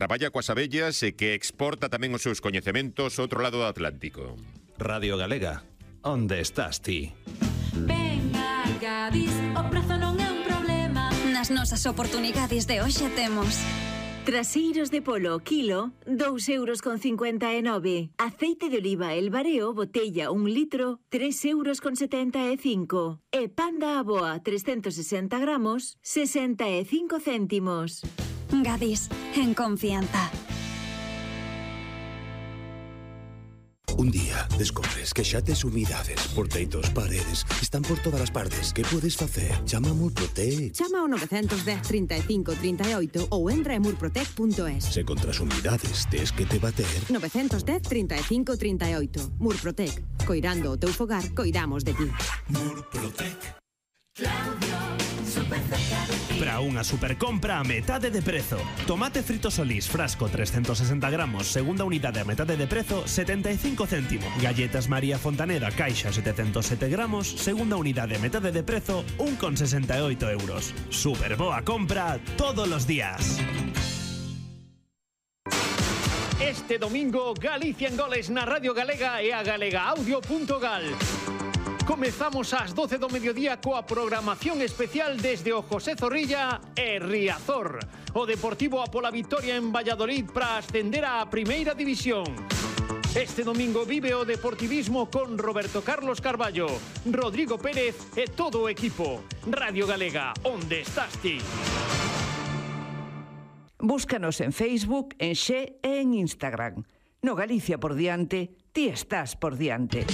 Traballa coas abellas e que exporta tamén os seus coñecementos ao outro lado do Atlántico. Radio Galega, onde estás ti? Ven a Gadis, o prazo non é un problema. Nas nosas oportunidades de hoxe temos traseiros de polo kilo, 2,59 €. Aceite de oliva El Bareo, botella 1 litro, 3,75 €. E panda aboa, 360 gramos, 65 céntimos. Gadis, en confianza. Un día descobres que xa tes humidades por teitos, paredes, están por todas as partes. Que podes facer? Chama a Murprotec. Chama ao 910 35 38 ou entra en murprotec.es. Se contra as humidades tes que te bater. 910 35 38. Murprotec. Coirando o teu fogar, coiramos de ti. Murprotec. Para unha supercompra a metade de prezo. Tomate frito Solís, frasco 360 gramos, segunda unidade a metade de prezo, 75 céntimos. Galletas María Fontaneda, caixa 707 gramos, segunda unidade a metade de prezo, 1,68 €. Super boa compra todos los días. Este domingo, Galicia en goles na Radio Galega e a galegaaudio.gal. Comezamos ás 12 do mediodía coa programación especial desde o José Zorrilla e Riazor. O Deportivo a pola vitoria en Valladolid para ascender á Primeira División. Este domingo vive o deportivismo con Roberto Carlos Carballo, Rodrigo Pérez e todo o equipo. Radio Galega, onde estás ti? Búscanos en Facebook, en Xe e en Instagram. No Galicia por diante, ti estás por diante.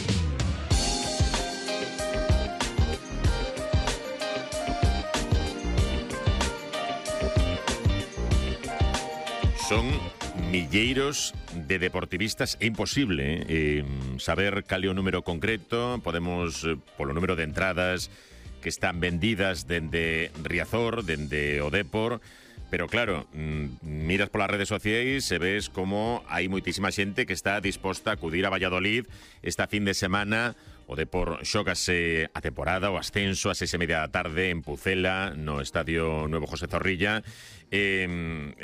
Son milleiros de deportivistas. É imposible saber cal é o número concreto. Podemos, polo número de entradas que están vendidas dende Riazor, dende o Depor, pero claro, miras polas redes sociais e ves como hai moitísima xente que está disposta a acudir a Valladolid esta fin de semana. O Depor xógase a temporada, o ascenso a 6:30 da tarde en Pucela, no Estadio Nuevo José Zorrilla.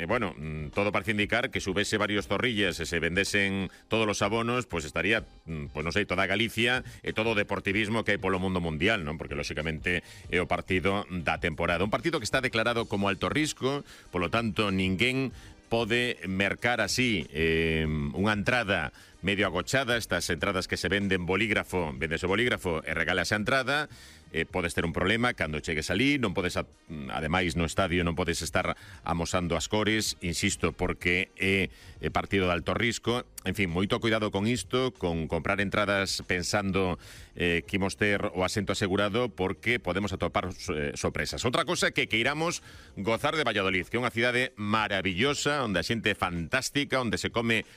Bueno, todo parece indicar que subese varios zorrillas e se vendesen todos os abonos, pues estaría, pues non sei, toda Galicia e todo o deportivismo que hai polo mundo mundial, non? Porque lóxicamente é o partido da temporada. Un partido que está declarado como alto risco, polo tanto, ninguén pode mercar así unha entrada medio agochada. Estas entradas que se venden bolígrafo, vendes o bolígrafo e regalas a entrada. Podes ter un problema cando chegues ali, non podes, ademais no estadio non podes estar amosando as cores, insisto, porque é partido de alto risco. En fin, moito cuidado con isto, con comprar entradas pensando que imos ter o asento asegurado, porque podemos atopar sorpresas. Outra cosa é que queiramos gozar de Valladolid, que é unha cidade maravillosa, onde a xente é fantástica, onde se come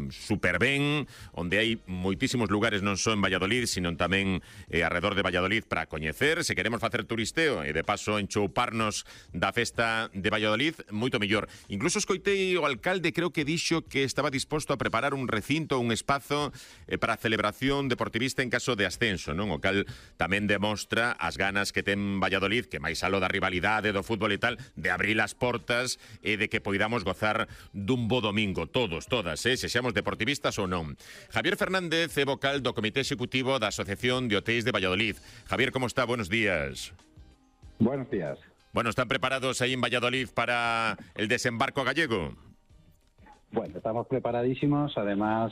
super ben, onde hai moitísimos lugares non só en Valladolid, sino tamén arredor de Valladolid para coñecer. Se queremos facer turisteo e de paso enchouparnos da festa de Valladolid, moito mellor. Incluso escoitei o alcalde, creo que dixo que estaba disposto a preparar un recinto, un espazo para a celebración deportivista en caso de ascenso, non? O cal tamén demostra as ganas que ten Valladolid, que máis aló da rivalidade do fútbol e tal, de abrir as portas e de que poidamos gozar dun bo domingo, todas, sexamos deportivistas ou non. Javier Fernández é vocal do Comité Executivo da Asociación de Hoteis de Valladolid. Javier, ¿cómo está? Buenos días. Buenos días. Bueno, ¿están preparados ahí en Valladolid para el desembarco gallego? Bueno, estamos preparadísimos. Además,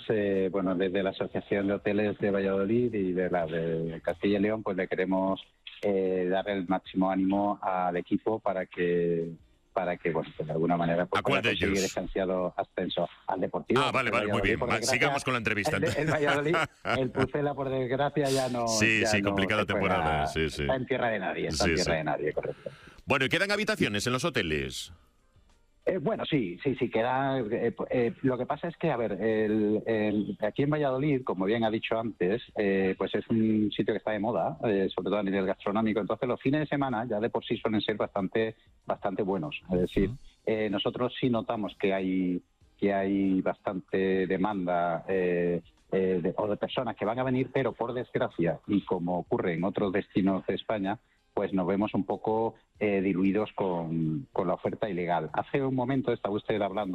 bueno, desde la Asociación de Hoteles de Valladolid y de la de Castilla y León, pues le queremos dar el máximo ánimo al equipo para que bueno, pues de alguna manera pues, pueda conseguir ese ansiado ascenso al Deportivo. Ah, vale, muy bien. Sigamos con la entrevista. El Valladolid, el Pucela, por desgracia, ya no... Sí, complicada temporada. Sí. Está en tierra de nadie, de nadie, correcto. Bueno, ¿y quedan habitaciones en los hoteles? Bueno, sí, queda... lo que pasa es que, a ver, aquí en Valladolid, como bien ha dicho antes, pues es un sitio que está de moda, sobre todo a nivel gastronómico. Entonces, los fines de semana ya de por sí suelen ser bastante buenos. Es decir, nosotros sí notamos que hay bastante demanda o de personas que van a venir, pero por desgracia, y como ocurre en otros destinos de España, pues nos vemos un poco diluidos con la oferta ilegal. Hace un momento estaba usted hablando